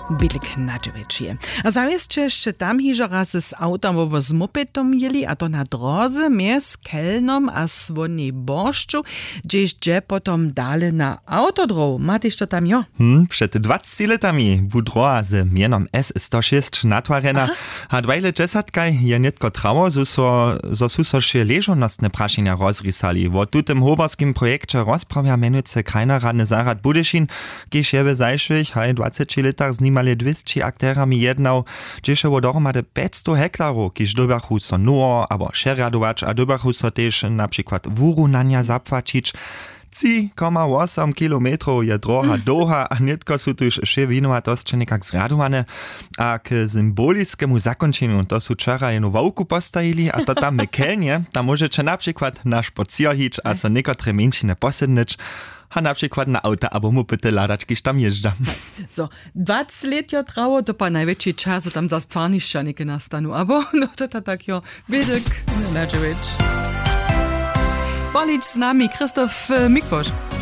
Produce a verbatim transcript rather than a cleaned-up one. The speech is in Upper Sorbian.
Bědlik na dźewjeći. A zawěsće sće tam hižo raz z awtom abo z mopetom jěli, a to na dróze mjez Kelnom a Słónej Boršću, hdźež dźe potom dale na awtodróhu. Ma tež to tam jo. Hm, před dwaceći lětami bu dróha z mjenom s sto šěsć natwarjena. A dwajle dźesatkaj je nětko trało zo su so wšě ležownostne prašenja rozrisali. Wo tutym hoberskim projekće rozprawja mjenujcy krajnoradny zarjad budyšin, kiž je w zašłych haj dwaceći lětach z nimale dwěsći akterjami jednał, hdźež je wo dohromady pjećstow hektarow, kiž dyrbjachu so nowo abo přerjadować a dyrbjachu so tež na přikład wurunanja zapłaćić. Tři koma wosom kilometrow je dróha dołha a nětko su tuž wšě winowatosće někak zrjadowane. A k symboliskemu zakónčenju to su wčera jenu ławku postajili a to tam w Kelnje, tam móžeće na přikład na špocěr hić a so někotre mjeńšiny posydnyć, a na přikład na awta abo mopyty hladać, kiž tam jězdźa. Zo, dwaceći lět jo trało, to pa najwjetši čas zo tam za stwarnišća něke nastanu abo no to ta tak jo. Bědlik na dźewjeći. Polić z nami Christoph Mikłoš.